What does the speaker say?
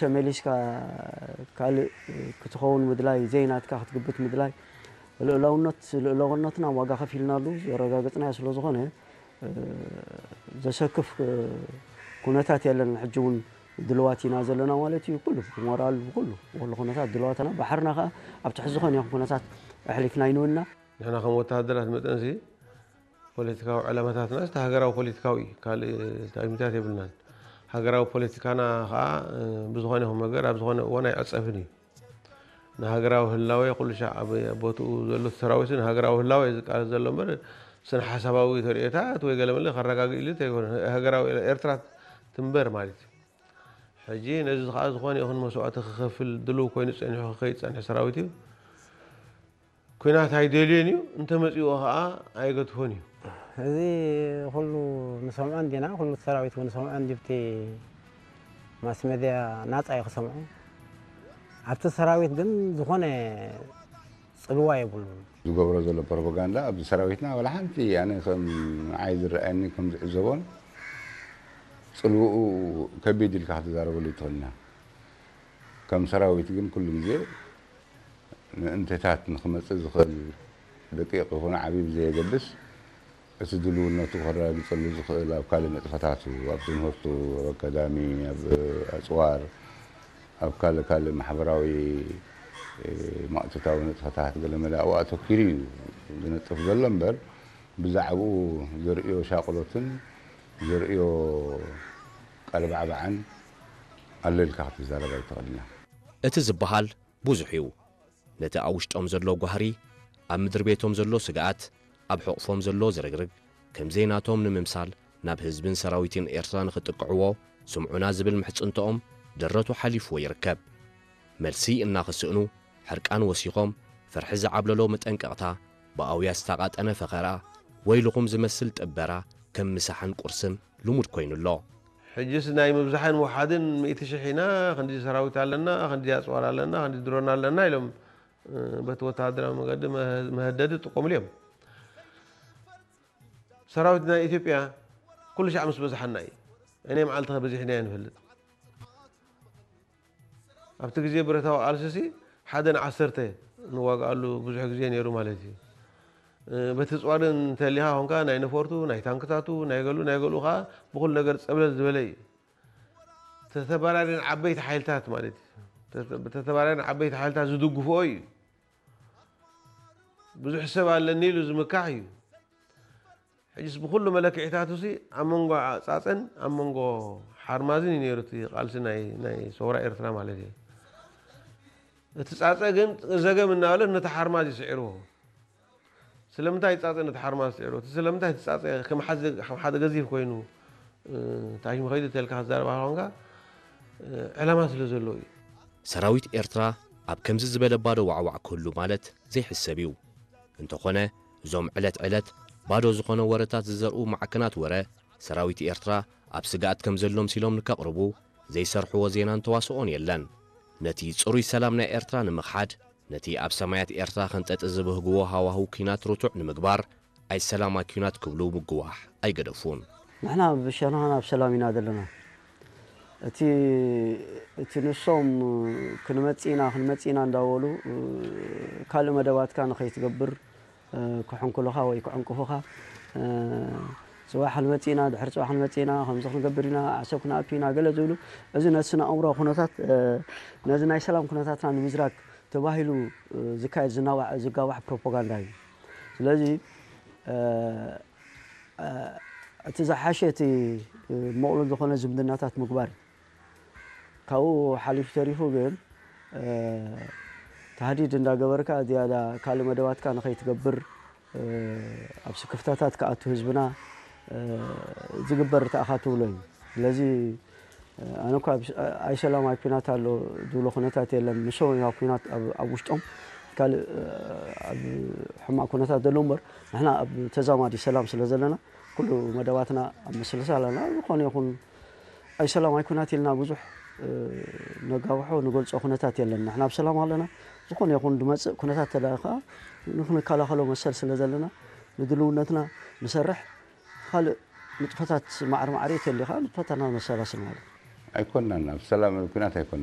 ተመሊስካ ካልእ ክትኸውን ምድላይ፣ ዘይናትካ ክትግብት ምድላይ፣ ልኡላውነት፣ ልኡላውነትና ዋጋ ከፊልናሉ ዘረጋገጽናዮ ስለ ዝኾነ፣ እ፣ ዘሰክፍ፣ እ፣ ኩነታት የለን። ሕጂ እውን ድልዋት ኢና ዘለና ማለት እዩ። ኩሉ ብሞራል፣ ብኩሉ፣ ብኩሉ ኩነታት ድልዋትና፣ ባሕርና ከኣ ኣብ ትሕቲ ዝኾነ ይኹን ኩነታት ኣሕሊፍና ኣይንውንና። ንሕና ከም ወተሃደራት መጠንሲ ፖለቲካዊ ዕላማታትና እቲ ሃገራዊ ፖለቲካዊ እዩ። ካልእ ታይምታት የብልናን። ሃገራዊ ፖለቲካና ከኣ፣ እ፣ ብዝኾነ ይኹን መገድ ኣብ ዝኾነ እዋን ኣይዕጸፍን እዩ። ንሃገራዊ ህላዌ ኩሉ ሻዕ ኣብ ቦትኡ ዘሎ ሰራዊት ንሃገራዊ ህላዌ እዩ ዝቃለስ ዘሎ እምበር፣ ስነ ሓሳባዊ ተርእዮታት ወይ ገለመለ ከረጋግእ ኢሉ እንተይኮነ፣ ሃገራዊ ኤርትራ ትንበር ማለት እዩ። ሕጂ ነዚ ከኣ ዝኾነ ይኹን መስዋእቲ ክኸፍል ድሉው ኮይኑ ጸኒሑ ክኸይድ ዝጸንሐ ሰራዊት እዩ። ኲናት ኣይደልዮን እዩ፣ እንተመጺእዎ ከኣ ኣይገድፎን እዩ። እዚ ኩሉ ንሰምዖ እንዲና፣ ኩሉ ሰራዊት እውን ንሰምዖ እንዲብቲ ማስ ሜድያ ናጻ እዩ ክሰምዖ። ኣብቲ ሰራዊት ግን ዝኾነ ጽልዋ የብሉን። ዝገብሮ ዘሎ ፕሮፓጋንዳ ኣብዚ ሰራዊትና ዋላ ሓንቲ ኣነ ከም ንዓይ ዝረኣየኒ ከም ዝዕዘቦን ጽልውኡ ከቢድ ኢልካ ክትዛረበሉ ይትኽእል ኢና። ከም ሰራዊት ግን ኩሉ ግዜ ምእንተታት ንኽመጽእ ዝኽእል ደቂቕ ይኹን ዓብዪ ብዘየገድስ፣ እቲ ድልውነቱ ከረጋግጸሉ ዝኽእል ኣብ ካልእ ንጥፈታቱ፣ ኣብ ትምህርቱ፣ ኣብ ኣካዳሚ፣ ኣብ ኣጽዋር፣ ኣብ ካልእ ካልእ ማሕበራዊ፣ እ፣ ማእቶታዊ ንጥፈታት ገለመለ ኣብኡ ኣተኲሩ እዩ ዝነጥፍ ዘሎ እምበር፣ ብዛዕባኡ ዘርእዮ ሻቕሎትን ዘርእዮ ቀልባዕባዕን ኣሎ ኢልካ ክትዛረብ ኣይትኽእልን ኢኻ። እቲ ዝበሃል ብዙሕ እዩ። ነቲ ኣብ ውሽጦም ዘሎ ጓህሪ፣ ኣብ ምድሪ ቤቶም ዘሎ ስግኣት፣ ኣብ ሕቑፎም ዘሎ ዝርግርግ፣ ከም ዘይናቶም ንምምሳል ናብ ህዝብን ሰራዊትን ኤርትራ ንኽጥቅዕዎ ስምዑና ዝብል ምሕጽንትኦም ደረቱ ሓሊፍዎ ይርከብ። መልሲ እናኽስእኑ ሕርቃን ወሲኾም ፍርሒ ዝዓብለሎ መጠንቀቕታ ብኣውያ ዝተቓጠነ ፈኸራ ወይልኹም ዝመስል ጥበራ ከም ምሳሕን ቁርስን ልሙድ ኮይኑ ኣሎ። ሕጅስ ናይ ምብዛሕን ምውሓድን ሚእቲ ሽሕ ኢና፣ ክንዲ ሰራዊት ኣለና፣ ክንዲ ኣጽዋር ኣለና፣ ክንዲ ድሮን ኣለና ኢሎም፣ እ፣ በቲ ወተሃደራዊ መገዲ መህ-፣ መህደዲ ይጥቀሙሉ እዮም። ሰራዊት ናይ ኢትዮጵያ ኩሉ ሻዕ ምስ በዝሓና እዩ። እኔ መዓልቲ ከበዚሕና ንፈልጥ። ኣብቲ ግዜ ብረታዊ ቃልሲሲ ሓደ ንዓሰርተ ንዋግኣሉ ብዙሕ ግዜ ነይሩ ማለት እዩ። እ፣ በቲ ጽዋርን እንተሊኻ ኾንካ ናይ ነፈርቱ፣ ናይ ታንክታቱ፣ ናይ ገሉ፣ ናይ ገሉ ኸዓ ብኹሉ ነገር ጸብለል ዝበለ እዩ። ተተባራሪ ንዓበይቲ ሓይልታት ማለት እዩ። ተተ-፣ ብተተባራሪ ንዓበይቲ ሓይልታት ዝድግፍኦ እዩ። ብዙሕ ሰብ ኣለኒ ኢሉ ዝምካሕ እዩ። ሕጅስ ብኹሉ መለክዒታቱሲ ኣብ መንጎ ጻጸን ኣብ መንጎ ሓርማዝን እዩ ነይሩ እቲ ቃልሲ ናይ፣ ናይ ሰውራ ኤርትራ ማለት እዩ። እቲ ጻጸ ግን ዘገም እናበለት ነቲ ሓርማዝ እዩ ስዒርዎ። ስለምንታይ ጻጸ ነቲ ሓርማዝ ስዒርዎ? እቲ ስለምንታይ እቲ ጻጸ ከም ሓዚ፣ ከም ሓደ ገዚፍ ኮይኑ፣ እ፣ ታሽሙ ኸይዱ ተልካ ክትዛረባ ኾንካ፣ እ፣ ዕላማ ስለ ዘለዎ እዩ። ሰራዊት ኤርትራ ኣብ ከምዚ ዝበለ ባዶ ዋዕዋዕ ክህሉ ማለት ዘይሕሰብ እዩ። እንተኾነ፣ እዞም ዕለት ዕለት ባዶ ዝኾነ ወረታት ዝዘርኡ ማዕከናት ወረ፣ ሰራዊት ኤርትራ ኣብ ስግኣት ከም ዘሎ ምሲሎም ንከቕርቡ ዘይሰርሕዎ ዜናን ተዋስኦን የለን። ነቲ ጽሩይ ሰላም ናይ ኤርትራ ንምኽሓድ፣ ነቲ ኣብ ሰማያት ኤርትራ ከንጠጢ ዝብህግዎ ሃዋህው ኲናት ርቱዕ ንምግባር፣ ኣይሰላማይ ኲናት ክብሉ ምግዋሕ ኣይገደፉን። ንሕና ብሸነኻና ኣብ ሰላም ኢና ዘለና። እቲ፣ እቲ ንሶም ክንመጽእ ኢና፣ ክንመጽእ ኢና እንዳበሉ፣ ካልእ መደባትካ ንኸይትገብር፣ ክሕንኩሉኻ ወይ ክዕንቅፉኻ፣ ጽባሕ ክንመጽእ ኢና፣ ድሕሪ ጽባሕ ክንመጽእ ኢና፣ ከምዚ ክንገብር ኢና፣ ዓሰብ ክንኣቱ ኢና፣ ገለ ዝብሉ፣ እዚ ነቲ ስነ ኣእምሮ ኩነታት፣ ነዚ ናይ ሰላም ኩነታትና ንምዝራግ ተባሂሉ ዝካየድ ዝናዋሕ፣ ዝጋዋሕ ፕሮፓጋንዳ እዩ። ስለዚ፣ እ፣ እ፣ እቲ ዝሓሸ እቲ፣ እ፣ ምቕሉል ዝኾነ ዝምድናታት ምግባር እዩ። ካብኡ ሓሊፉ ተሪፉ ግን፣ እ፣ ታህዲድ እንዳገበርካ ዝያዳ ካልእ መደባትካ ንኸይትገብር፣ እ፣ ኣብ ስክፍታታት ክኣቱ ህዝብና፣ እ፣ ዝግበር ተኣኻ ትብሎ እዩ። ስለዚ፣ ኣነ እኳ ኣብ፣ ኣይ ሰላም ኣይ ኲናት ኣሎ ዝብሎ ኩነታት የለን። ንሶም እዮም ኣብ ኲናት ኣብ፣ ኣብ ውሽጦም ካልእ፣ ኣብ ሕማቕ ኩነታት ዘለዉ እምበር፣ ንሕና ኣብ ተዛማዲ ሰላም ስለ ዘለና፣ ኩሉ መደባትና ኣብ ምስልሳል ኣለና። ዝኾነ ይኹን ኣይ ሰላም ኣይ ኲናት ኢልና ብዙሕ፣ እ፣ ነጋውሖ ንገልጾ ኩነታት የለን። ንሕና ኣብ ሰላም ኣለና። ዝኾነ ይኹን ዝመጽእ ኩነታት ተደኣ ከኣ ንኽንከላኸሎ መሰል ስለ ዘለና፣ ንድልውነትና ንሰርሕ። ካልእ ንጥፈታት ማዕረ ማዕረ ተሊኻ ንጥፈታትና ነሰላስል ማለት እዩ። ኣይኮናን ኣብ ሰላም ኩናት ኣይኮናን